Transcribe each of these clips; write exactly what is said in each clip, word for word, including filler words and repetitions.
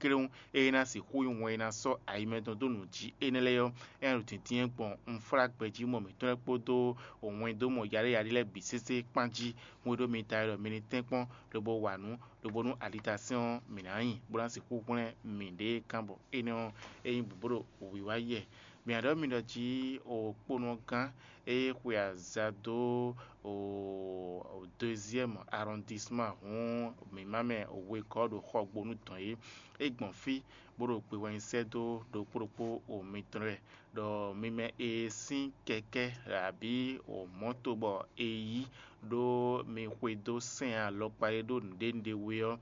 kplé ɔ́, ée ná sixú nyí wɛn e ná sɔ́ ayi mɛtɔn dó nǔ jí énɛ́ lɛ́ɛ ɔ́, é ná ɖo dǐndín gbɔn unflágbɛjí mɔ mǐtɔn lɛ́ɛ kpódó wɛndómɔ yaɖéyaɖé lɛ́ɛ bǐ sésé kpán jí, hwenu e ɖo mi ta wɛ ɖɔ mi ní tɛ́nkpɔ́n lobo wa nǔ, lobo nú alitasɛ́n ɔ́, mǐ ná nyi, bó ná sixú hwlɛ́n mǐɖée gán bɔ énɛ́ ɔ́, é nyí bǔbúɖo wǐwá yɛ. Mǐ ná ɖɔ mi ɖɔ jí o kponɔgán e xwe aza dó o deuxième arrondissement hǔn mǐ má mɛ wegɔ́ ɖo xɔgbónú dɔn é. É gbɔn fí bó ɖo gbe wɛ nyi sɛ́ dó ɖokpó ɖokpó o mitɔn lɛ́ɛ ɖɔ mi mɛ e sín kɛkɛ́ abǐ o mɔ̌to bɔ è yí ɖó mi xwedó sɛ́n alɔkpa e ɖó nǔɖé nǔɖé we ɔ́,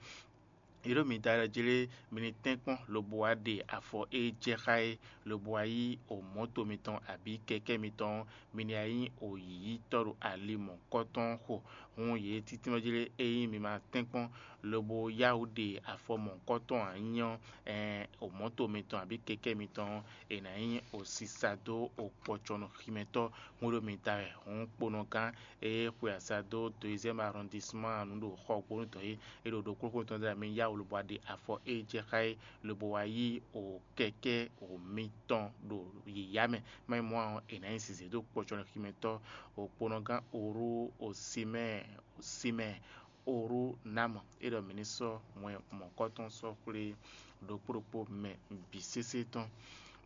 è ɖo mi da jlé mi ní tɛ́nkpɔ́n lobo wá ɖe afɔ e jɛ xá é, lobo wá yí o mɔ̌to mitɔn abǐ kɛkɛ́ mitɔn ɔ́, mi ní wá nyí o yǐyítɔ́ ɖo ali mɔ̌hunkɔtɔn xo. Hǔn yě títínmɛ jlé ényí mi ma tɛ́nkpɔ́n lobo yá wǔ ɖe afɔ mɔ̌hunkɔtɔn ǎ nyí ɔ́, ɛɛn, o mɔ̌to mitɔn abǐ kɛkɛ́ mitɔn ɔ́, è nǎ nyí o sisa dó o kpɔcɔnɔximɛtɔ́ hwenu ɖo mi da wɛ. Hǔn kponɔgán e xwe aza dó deuxième arrondissement nǔ ɖo xɔgbónú tɔn é, é ɖo ɖokpónɔ tɔn ɖ'ayǐ mɛ yá wǔ lobo wá ɖe afɔ e jɛ xá é, lobo wá yí o kɛkɛ́ o mitɔn ɖo yǐyá mɛ. Má nyí mɔ̌ ǎ ɔ́, è nǎ nyi zǐzé dó kpɔcɔnɔximɛtɔ́, o kponɔgán Orú, o Simɛ́ɛ, o Simɛ́ɛ, Orú ná mɔ é ɖɔ mǐ ní sɔ́ wɛn mɔ̌kɔ́tɔn sɔ́ xwlé ɖokpó ɖokpó mɛ bǐ sésé tɔn.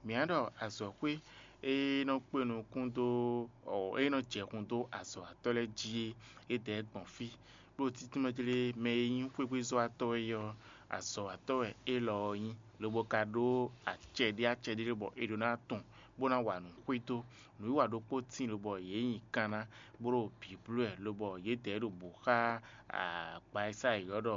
Mǐ á ɖɔ azɔ̌xwé e nɔ kpe nukún dó, e nɔ jɛ hun dó azɔ̌watɔ́ lɛ́ɛ jí é, é dɛ̌ gbɔn fí. Ɖó títúnmɛ jlé mɛ e nyí xwégbézɔ́watɔ́ é ɔ́, azɔ̌watɔ́ wɛ élɔ́ ɔ́ nyí, lobo ka ɖó acɛ ɖé acɛ ɖé bɔ è ɖó ná tunwun, bó ná wa nǔ xwedó. Nǔwiwa ɖokpó tíin lobɔ yě nyi kanná, bó ɖo bǐblú wɛ, lobɔ yědɛɛ ɖo bǔ xá agba e sá yě ylɔ́ ɖɔ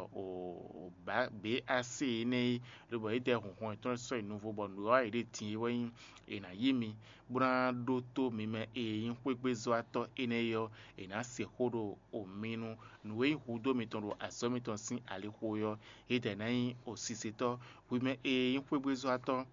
běasé énɛ́ é, lobɔ yědɛɛ hun hɔn yětɔn sɔ́ yi nuvo bɔ nǔwiwa e ɖe din é wɛ nyí è nǎ yí mi, bó ná ɖótó mi mɛ e nyí xwégbézɔ́watɔ́ énɛ́ é ɔ́, è nǎ se xó ɖo mi nu. Nǔ e nyí hudó mitɔn ɖo azɔ̌ mitɔn sín alixo é ɔ́, yědɛɛ ná nyí osisetɔ́. Hwi mɛ e nyí xwégbézɔ́watɔ́,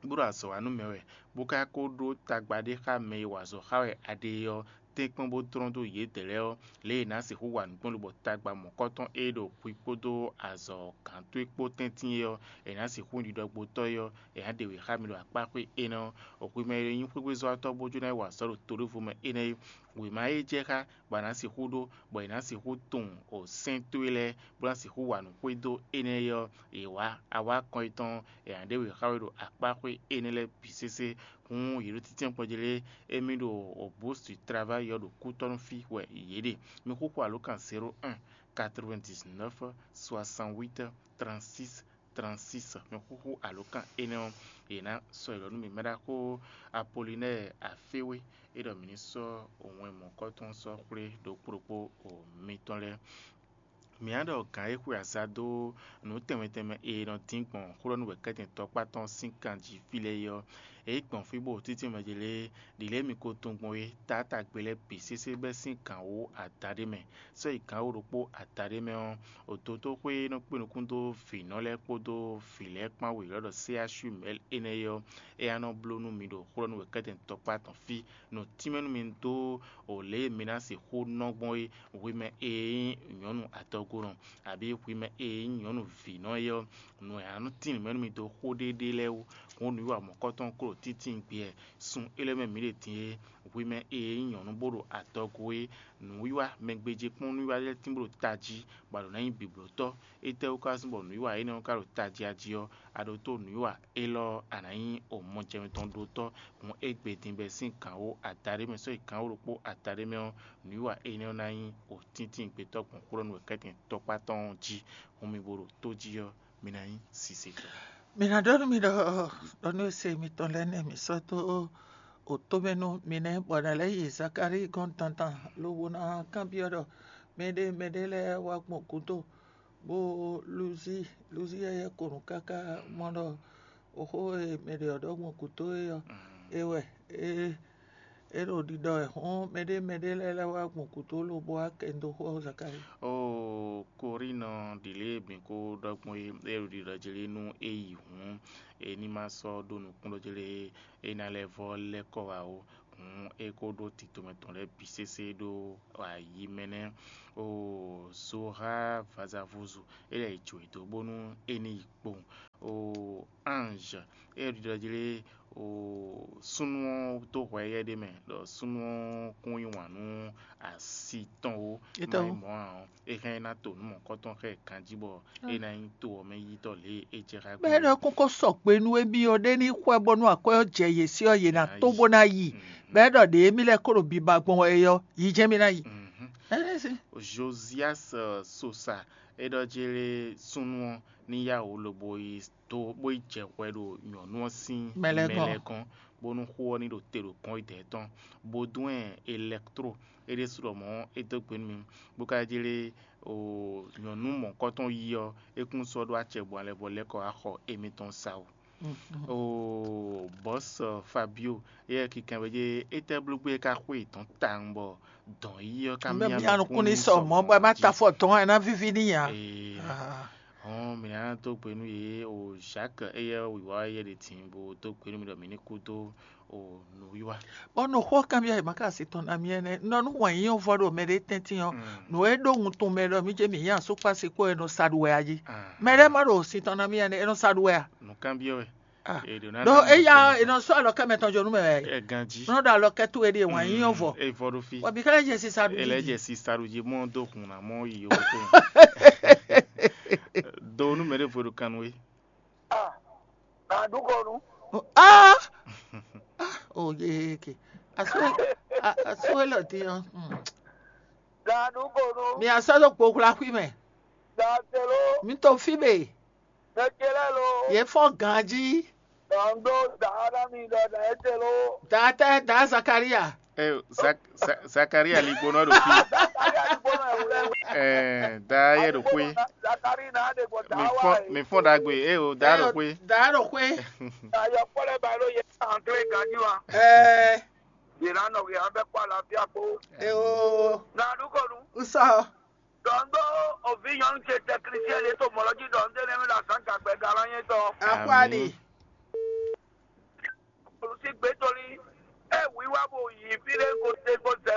bó ɖo azɔ̌ wa nú mɛ wɛ, bó ka ko ɖó tagba ɖé xá mɛ e wa azɔ̌ xá wɛ a ɖe é ɔ́, tɛ́nkpɔ́n bó tlɔ́n dó yědɛɛ lɛ́ɛ ɔ́, lě e è nǎ sixú wa nǔ gbɔn lobɔ tagba mɔ̌kɔ́tɔn e ɖo hwi kpódó azɔ̌ gǎn towe kpó tɛ́ntin é ɔ́, è nǎ sixú ɖiɖɔgbotɔ́ é ɔ́, è nǎ ɖe wě xá mi ɖo akpá xwé énɛ́ ɔ́. Hwi mɛ e nyí xwégbézɔ́watɔ́ bó jló ná yi wa azɔ̌ ɖo to ɖěvo mɛ énɛ́ é, wěma e jɛ xá bɔ è nǎ sixú ɖó, bɔ è nǎ sixú tunwun o sɛ́n towe lɛ́ɛ, bó ná sixú wa nǔ xwedó énɛ́ é ɔ́, è wǎ awákɔn yětɔn, è nǎ ɖe wě xá we ɖo akpá xwé énɛ́ lɛ́ɛ bǐ sésé. Hǔn yě ɖo tɛ́ntin kpɔ́n jí lé, émí ɖo o bǔsu travayi ɔ́ ɖo kútɔ́nú fí wɛ yě ɖe. Mi xúxú alǒkan zéro un, quatre-vingt-dix-neuf, soixante-huit, trente-six, trente-six. Mi xúxú alǒkan énɛ́ ɔ́, yě ná sɔ́ yě lɔ nú mi. Mɛɖaxó Apolinɛ́ɛ Aféwé é ɖɔ mǐ ní sɔ́ wɛn mɔ̌kɔ́tɔn sɔ́ xwlé ɖokpó ɖokpó o mitɔn lɛ́ɛ. Mǐ á ɖɔ gǎn e xwe aza dó nǔ tɛnmɛ tɛnmɛ e nɔ dín gbɔn xó ɖɔ nú wɛ̌kɛ́tɛn tɔkpá tɔn sín kan jí fí lɛ́ɛ é ɔ́, é gbɔn fí bó títí mɛ jí lé, ɖǐ lě mi ko tunwun gbɔn é, taátagbe lɛ́ɛ bǐ sésé bɛ́ sín gǎn wú adaɖé mɛ. Sɔ́ yi gǎn wú ɖokpó adaɖé mɛ ɔ́, ototóxwé e nɔ kpé nukún dó vǐnɔ lɛ́ɛ kpódó vǐ lɛ́ɛ kpán wěwlɛ́ ɖɔ C H U mɛ̌l énɛ́ é ɔ́, é ná nɔ bló nú mi ɖo xó ɖɔ nú wɛ̌kɛ́tɛn tɔkpá tɔn fí. Nɔ tínmɛ nú mi dó o lě e mi ná sixú nɔ gbɔn é, hwi mɛ e nyí nyɔ̌nu adɔgonɔ, abǐ hwi mɛ e nyí nyɔ̌nu vǐnɔ é ɔ́, nǔ e ná nɔ tín nǔ mɛ nú mi dó xó ɖéɖé lɛ́ɛ wú. Hǔn nǔwiwa mɔ̌kɔ́tɔn klo títíngbé wɛ, sun élɔ́ mɛ mǐ ɖe din é, hwi mɛ e nyí nyɔ̌nu bó ɖo adɔgo é, nǔwiwa mɛgbéjékpɔ́nnúwiwa lɛ́ɛ tín bó ɖo tají, bɔ a ɖǒ ná nyí bǐblótɔ́. Étɛ́wú ka zɔ́n bɔ nǔwiwa énɛ́ ɔ́ ka ɖo tají a jí ɔ́, a ɖótó nǔwiwa élɔ́ ɔ́, a nǎ nyí o mɔjɛmɛ tɔn ɖótɔ́. Hǔn égbé din bɛ́ sín gǎn wú adaɖé mɛ sɔ́ yi gǎn wú ɖokpó adaɖé mɛ ɔ́, nǔwiwa énɛ́ ɔ́ ná nyí o tíntín gbetɔ́ gbɔn xwlɔ́nú wɛ kɛ́tɛn tɔkpá tɔn ɔ́ jí. Hǔn mi bo ɖo tó jí ɔ́, mi ná nyí sisetɔ́. Mi ná ɖɔ nú mi ɖɔ ɖɔ nú ese mitɔn lɛ́ɛ nɛ́ mi sɔ́ dó o tó mɛ nú mi nɛ́, bɔ nǎ lɛ́ yi Zakalíi gɔ́n dandan lobo ná kanbyɔ́ ɖɔ mɛɖé mɛɖé lɛ́ɛ wá gbɔn gǔdo, bó lúzí lúzí yɛ́yɛ́ ko nǔ káká mɔ ɖɔ xó e mɛ ɖě ɔ́ ɖɔ gbɔn gǔdo é ɔ́, é wɛ é é ɖo ɖiɖɔ wɛ hɔn mɛɖé mɛɖé lɛ́ɛ lɛ́ wá gbɔn gǔdo lobo wá kɛ dó xó ɔ́ Zakalíi. Oo, Korínɔ ɖi lě e mǐ ko ɖɔ gbɔn é, é ɖo ɖiɖɔ jlé nú é yi hǔn, é ní ma sɔ́ ɖó nukúnnú jlé é ná lɛ́ vɔ́ lɛ́ kɔ wá ó. Hǔn é ko ɖó tito mɛ tɔn lɛ́ɛ bǐ sésé ɖó ayi mɛ nɛ́. Oo, Zoha vazavuzu, é lɛ́ yi jǒ e dó bónú é ní yi kpowun. Ée ɖiɖɔ jí lé, o súnnu ɔ́ dó hwɛ éyɛ́ ɖé mɛ ɖɔ súnnu ɔ́ kún yí wǎn nú asi tɔn ó. Má nyí mɔ̌ ǎ ɔ́, é hɛn ná to nǔ mɔ̌hunkɔtɔn xá ɛ ganjí bɔ é ná nyí to ɔ́ mɛ yítɔ́ lě e é jɛ xá gbé. Bɔ é ɖɔ kókó sɔgbe nú émí ɔ́, ɖé ní xwɛ bɔnú akwɛ́ ɔ́ jɛ yě sí ɔ́, yě ná tó bó ná yi. Bɔ é ɖɔ ɖě émí lɛ́ɛ kó ɖo biba gbɔn wɛ é ɔ́, yi jɛ́n mì ná yi. Ɛnɛ́ sí. Josias Sosa, é ɖɔ jí lé súnnu ɔ́ ní yá wǔ lobo yi dó bó yi jɛ hwɛ ɖo nyɔ̌nu ɔ́ sín mɛ lɛ́ɛ gɔ́n, bónú xó ɔ́ ní ɖo te ɖo kɔn yi dɛ̌ tɔn, bó dún ɛ elɛktro é ɖésú ɖɔ mɔ̌ é dó gbe nú mi, bó ka jlé o nyɔ̌nu mɔ̌kɔtɔn yi ɔ́, é kún sɔ́ ɖó acɛ gbɔn alɛ bɔ lɛ́ kɔ wá xɔ émítɔn sa ó. O bɔ̌s Fabio, éyɛ́ kikanwéjé, étɛ́ blógbé é ka xwé yětɔn tawun bɔ dɔn yí ɔ́ ka Mɛ mia mia nukún ní sɔ mɔ̌ bɔ ɛ má ta fɔ dɔn ɛ ná víví n'i ǎ. Hɔn mǐ ná dó gbe nú yě o Jacques éyɛ́ wǐwá éyɛ́ ɖě din bó dó gbe nú mì ɖɔ mǐ ní kú dó o nǔwiwa. Bɔ nǔxó kanbyɔ́ e ma ka asi tɔn ná mì ɛnɛ́ nɔ nú wǎn yíyɔ́ vɔ ɖo mɛ ɖé tɛ́ntin ɔ́, nǔ e ɖó wuntun mɛ ɖɔ mí jɛ mǐ nyí asúkpási kpó e nɔ sa ɖu wɛ a jí. Mɛ ɖé ma ɖo sin tɔn ná mì ɛnɛ́ e nɔ sa ɖu wɛ a? Nǔkanbyɔ́ wɛ. Ɖó éya è nɔ sɔ́ alɔkɛ́ mɛtɔn jó nú mɛ wɛ. Ɛ ganjí. Nɔ ɖo alɔkɛ́ towe ɖíe wǎn yíyɔ́ vɔ. É vɔ ɖó fí. Wɛ bǐ ká lɛ́ jɛ si sa ɖu jí. È lɛ́ jɛ si sa ɖu jí mɔ dó hun ná mɔ yi yǒ tó. Do nú mɛ ɖěvo ɖo kan nú we. Nàdúkọ̀nù. Ah! Ah, oh, yeke. Asúwé, asúwé lɔ dín ɔ́. Nàdúkọ̀nù. Mi asɔ ɖo kpokpla xwí mɛ. Dàtẹ̀ló. Mi to fí mɛ. Mɛ ce lɛ́ɛ lo. Yě fɔ́n ganjí. Dɔn ɖó dǎ ná mi ɖɔ dǎ étɛ́ ló. Dǎ tɛ́ dǎ Zakaria. Ɛ Zak- Za- Zakaria ligbonɔ ɖo fí. Zakaria ligbonɔ ɛ wlɛ. Ɛ dǎ yɛ ɖo xwé. Zakaria ná ɖe gbɔ dǎ Mi wa fɔ́n ɛ. Mi fɔ́n ɖagbe ɛ o dǎ ɖo xwé. Dǎ ɖo xwé. Ayɔ kpɔlɛ ba ɖo yɛ anglais ganji wa. Ɛ Yě ná nɔ yě abɛ kpɔ alafia kpó. Ɛ o. Ná ɖu kɔnu. Usɔ. Dɔn ɖó ovi nyɔnu ce tɛklisiyɛn ɖé to mɔlɔ jí ɖɔ un ɖe nɛ́ mɛ ɖo azǎn gagbɛ galanyɛ tɔn. Akwali. Olùsí gbé tolí. Ɛ wíwá bo yi fí ɖé ko se ko zɛ.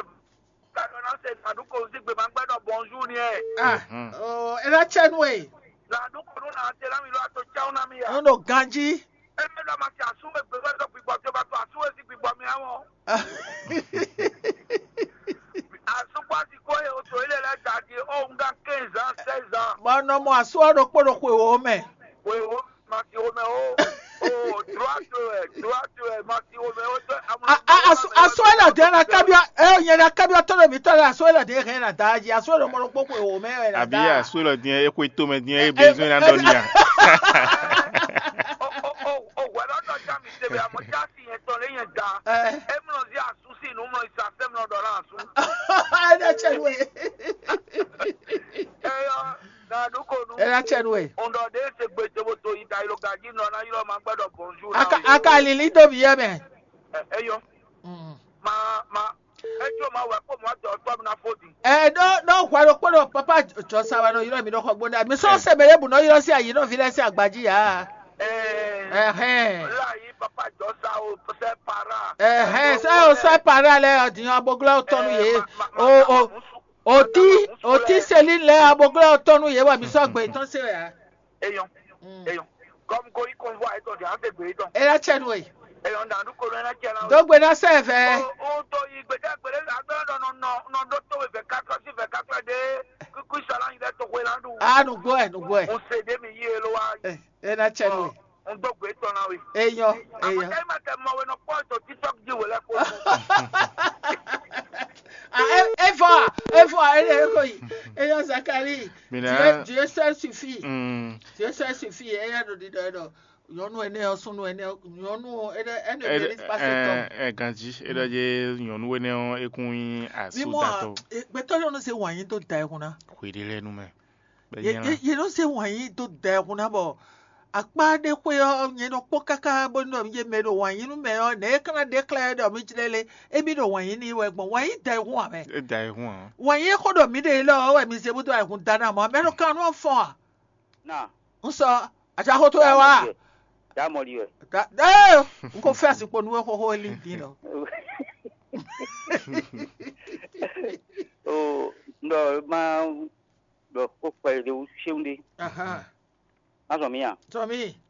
Kanɔ ná se nàdú ko sí gbé ma gbɛ ɖɔ bɔnzú ni ɛ. Ah, oh, ela tsɛ nu e. Nàdú ko nú nà se ná mi lɔ ato tsáwó ná mi ya. Nɔ ganji. Eme ɖɔ ma se asú e gbé wɛ ɖɔ gbigbɔ tó ba to asú e sí gbigbɔ mi awɔ. Asukpasi ko ye o to ile lɛ gadi o nga quinze ans, seize ans. Bɔ nɔ mɔ asu ɔ ɖokpó ɖo xwe wo mɛ. Xwe wo ma si wo mɛ o. O droit wɛ, droit wɛ ma si wo mɛ o tɔ amuna. Asu ɛ lɔ dɛ na kabiɔ ɛ nyɛ na kabiɔ tɔ ɖo mi tɔ lɛ asu ɛ lɔ dɛ hɛn na da ji asu ɛ lɔ mɔ ɖokpó xwe wo mɛ wɛ na da. Àbí asu ɛ lɔ dɛ e xwe to mɛ dɛ e besoin na dɔ nia. O o o o wɛ lɔ dɔ ja mi se bɛ amɔ ja si yɛn tɔ lɛ yɛn da. Ɛ. E mlɔ zi asu si nu mlɔ isa se mlɔ dɔ na asu. Ɛ dɛ tsɛ nu ye. Eyɔ na ɖu ko nu. Ɛ dɛ tsɛ nu ye. Ŋdɔ ɖe se gbe to bo to yi da yi lo gaji nɔ na yi lɔ ma gbɛ dɔ bonjour na. Aka aka lili do bi yɛ mɛ. Eyɔ. Mm. Ma ma. Etsɔ ma wɛ kpó mɔ tɔ tɔ mi na fo di. Ɛ ɖo ɖo hwɛ ɖo kpó ɖo papa jɔ sa wa nɔ ylɔ mi ɖo xɔ gbóná mi sɔ sɛ mɛ ɖe bu nɔ ylɔ sí ayi nɔ vi lɛ sí agbaji ya. Ɛhɛn. Láyé papa jɔ sa o sɛ para. Ɛhɛn sɛ o sɛ para lɛ ɔdìyàn aboglɔ tɔnu yé o o oti oti Céline lɛ aboglɔ tɔnu yé wa mi sɔ gbɛ tɔn se ya. Eyɔn. Eyɔn. Kɔmi ko yi kɔnvɔ ayetɔ di an tɛ gbe yi dɔn. Ela tsɛ nu e. Eyɔn dan du kolo ena tsɛ na. Dogbe na sɛ vɛ. O o to yi gbede gbede agbɛ nɔ nɔ nɔ nɔ do to we vɛ kakla si vɛ kakla de kuku sala yi dɛ to we la du. A nugbo ɛ nugbo ɛ. Mo se de mi yi elo wa. Ɛ ena tsɛ nu e. N do gbe tɔ na we. Eyɔn eyɔn. Amaka yi ma tɛ mɔ we nɔ kpɔ to TikTok di we lɛ ko. Ah, e e fɔ a e fɔ a e de e ko yi. Eyɔn Zakari. Mina. Dieu seul suffit. Mm. Dieu seul suffit. Eya ɖo ɖiɖɔ ɖɔ nyɔnu ɛnɛ ɔ súnnu ɛnɛ ɔ nyɔnu ɔ ɛnɛ ɛnɛ ɛ bɛ ní pase tɔ. Ɛ ganji e ɖɔ dze nyɔnu ɛnɛ ɔ ekun yin asu datɔ. Gbɛtɔ nyɔnu se wàn yín tó da ẹkún ná. Xwe ɖe lɛ nu mɛ. Yé yé nɔ se wàn yín tó da ẹkún ná bɔ akpá ɖé xwé ɔ nyɛ nɔ kpɔ́ káká bó nɔ yé mɛ ɖo wàn yín nú mɛ ɔ nɛ é kán ɖe xlɛ́ ɖɔ mí jlɛ́ lé émí ɖo wàn yín ní wɛ gbɔn wàn yín da ẹkún ame. E da ẹkún ǎ. Wàn yín xó ɖɔ mí ɖe lɔ wɛ mi se bó dó ẹkún da ná mɔ mɛ ɖo kan nú fɔn a. Na. N sɔ àti axótó ɛ wá. Dá mɔli wɛ. Ee n ko fẹ́ àsìkò nu wẹ́ xóxó lí dín lọ. O ndɔ ma ɖɔ kó kpɛ ɖe wú séwu ɖe. Má zɔn mí a? Sɔ mí.